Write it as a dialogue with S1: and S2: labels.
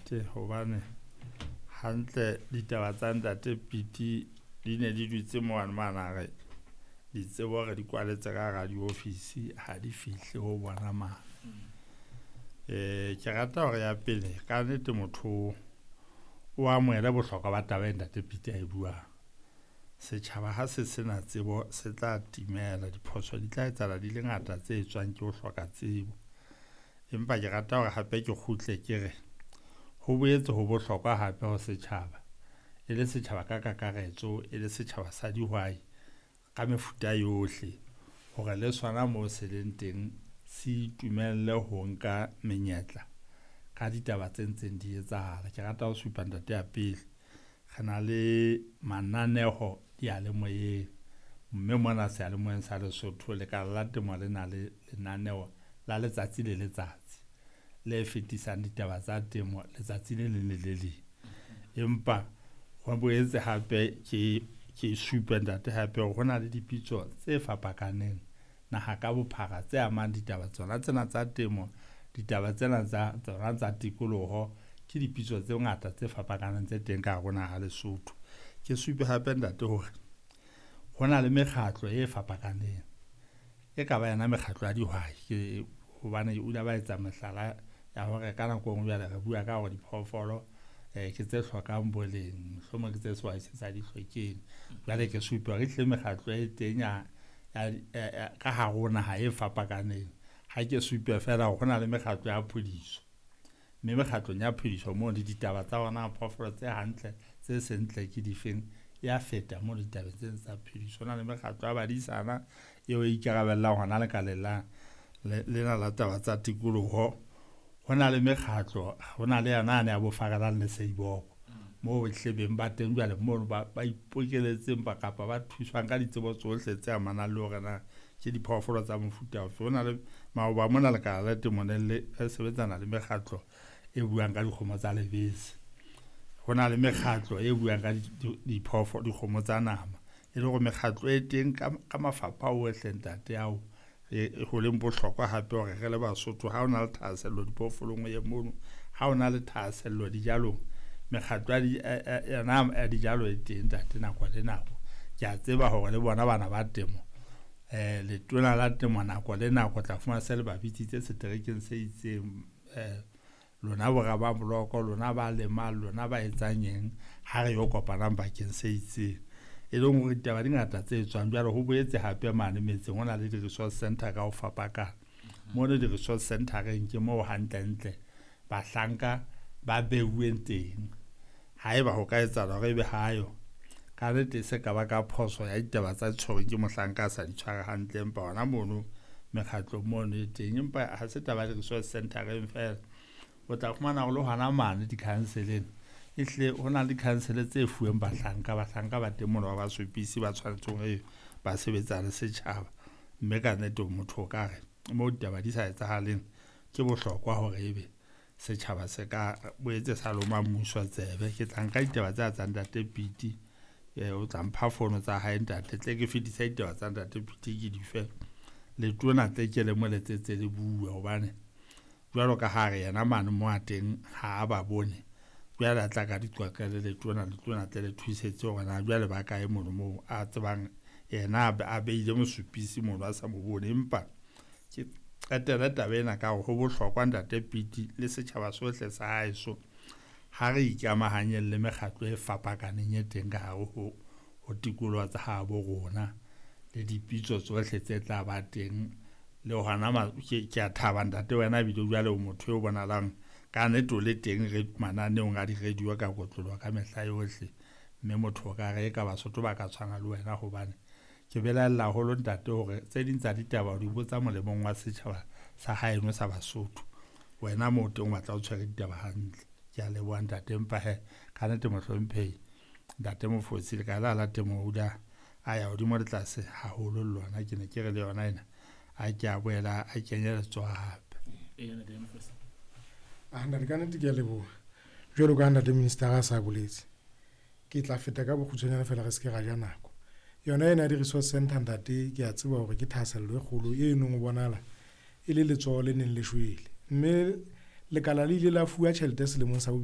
S1: Ntate, hobane hantle ditaba tsa Ntate Piti di ne di dutse mane mane re ditsebo re di kwaletse ka hara diofisi ha di fihle ho bona mane. Ke rata hore ya pele ka nnete motho o amohele bohlokwa ba taba e Ntate Piti ae buang. Setjhaba ha se sena tsebo se tla timela, diphoso di tla etsahala di le ngata tse etswang ke ho hloka tsebo. Empa ke rata hore hape ke kgutle ke re, ho boetse ho bohlokwa hape ho setjhaba, e le setjhaba ka kakaretso, e le setjhaba sa dihwai ka mefuta yohle hore le sona moo se leng teng se itumelle ho nka menyetla ka ditaba tse ntseng di etsahala. Ke rata ho supa ntate ya pele, re na le mananeho diyalemoyeng, mme mona seyalemoyeng sa Lesotho Lekala la Temo le na le lenaneo la letsatsi le letsatsi le fetisang ditaba tsa temo letsatsi le leng le le leng. Empa ho boetse hape ke supe ntate hape hore ho na le dipitso tse fapakaneng naha ka bophara tse amang ditaba tsona tsena tsa temo, ditaba tsena tsa tsona tsa tikoloho, ke dipitso tse ngata tse fapakaneng tse teng ka hare ho naha Lesotho. Ke supe hape ntate hore ho na le mekgatlo e fapakaneng, e ka ba yona mekgatlo ya dihwai ke hobane o ile ba etsa mehlala ya hore ka nako e nngwe jwale re bua ka hore diphoofolo ke tse hlokang boleng, mohlomong ke tse sehwai se sa di hlokeng. Jwale ke supe hore ehlile mekgatlo e teng ya ka hare ho naha e fapakaneng. Ha ke supe feela hore ho na le mekgatlo ya phodiso, mme mekgatlong ya phediso moo le ditaba tsa hona phoofolo tse hantle tse seng ntle ke difeng ya feta moo ditabeng tse tsa phediso. Ho na le mekgatlo ya badisana eo e ikarabellang hona lekaleng la lena la taba tsa tikoloho. Ho na le mekgatlo, ho na le yona yane ya bo Farelang le Seiboko moo ehlile beng ba teng jwale mono ba ipokeletseng ba kapa ba thuswang ka ditsebo tsohle tse amanang le hore na ke diphoofolo tsa mofuta ofe. Ho na le maoba mona Lekala la Temo ne le sebetsana le mekgatlo e buang ka dikgomo tsa lebese. Ho na le mekgatlo e buang ka diphoofolo, dikgomo tsa nama. E le hore mekgatlo e teng ka mafapha ohle ntate ao ho leng bohlokwa hape hore re le Basotho ha o na le thahasello diphoofolong o ye mono, ha o na le thahasello dijalong, mekgatlo yona ya dijalo e teng ntate nako le nako. Ke a tseba hore le bona bana ba temo, letona la temo nako le nako tla fumana se le ba bitsitse seterekeng se itseng, lona bo rababoloko, lona ba lemang, lona ba etsang eng, ha re yo kopanang bakeng se itseng. E leng hore ditaba di ngata tse etswang. Jwale ho boetse hape mane metseng ho na le di-resource center ka ho fapakana. Mono di-resource center-eng ke moo hantlentle bahlanka ba beuweng teng. Haeba ho ka etsahala hore ebe hayo, ka nnete e se ka ba ka phoso ya ditaba tsa tshwerweng ke mohlanka a sa di tshware hantle, empa hona mono mekgatlong mono e teng. Empa ha se taba ya di-resource center-eng feela, o tla fumana hore le hona mane di-council-eng ehlile ho na le di-council tse fuweng bahlanka, bahlanka ba teng mono ba basupisi ba tshwanetseng hore ba sebetsa le setjhaba. Mme ka nnete motho o ka re moo ditaba di sa etsahaleng ke bohlokwa hore ebe setjhaba se ka boetse sa loma mmuso tsebe. Ke tla nka ditaba tsa tsa Ntate Piti, o tla mpha fono tsa hae ntate, tle ke fetise ditaba tsa Ntate Piti ke di fe letona tle ke le mo letsetse le bue hobane jwalo ka ha re yena mane mo a teng ha a ba bone. Jwale a tla ka di qoqele letona, letona tle le thusetse hore na jwale ba kae mono moo a tsebang yena a beile mosupisi mono a sa mo bone. Empa ke qetelle taba ena ka hore ho bohlokwa Ntate Piti le setjhaba sohle sa haeso ha re ikamahanyeng le mekgatlo e fapakaneng e teng ka hare ho tikoloho tsa habo rona le dipitso tsohle tse tla ba teng. Le hona ke a thaba ntate wena ebile jwale o motho eo bonahalang ka nnete o le teng re mananeong a di-radio ka kotloloho ka mehla yohle. Mme motho o ka re eka Basotho ba ka tshwana le wena hobane ke belaella haholo ntate hore tse ding tsa ditaba o di botsa molemong wa setjhaba sa haeno sa Basotho. Wena moo teng o batla o tshwere ditaba hantle. Ke a leboha ntate, empa hee ka nnete mohlomphehi Ntate Mofosi Lekala la Temo o a ya hodimo le tlase haholo le lona. Ke ne ke re le yona ena a ke a boela a kenye letsoho hape.
S2: Ntate ka nnete ke a leboha. Jwalo ka ntate minister a sa boletse, ke tla feta ka bokgutshwanyane feela re se ke ra ja nako. Yona ena ya di-resource center ntate, ke a tseba hore ke thahasello e kgolo e neng o bonahala e le letsoho le neng le shwele. Mme lekala le ile la fuwa tjhelete selemong sa bobedi.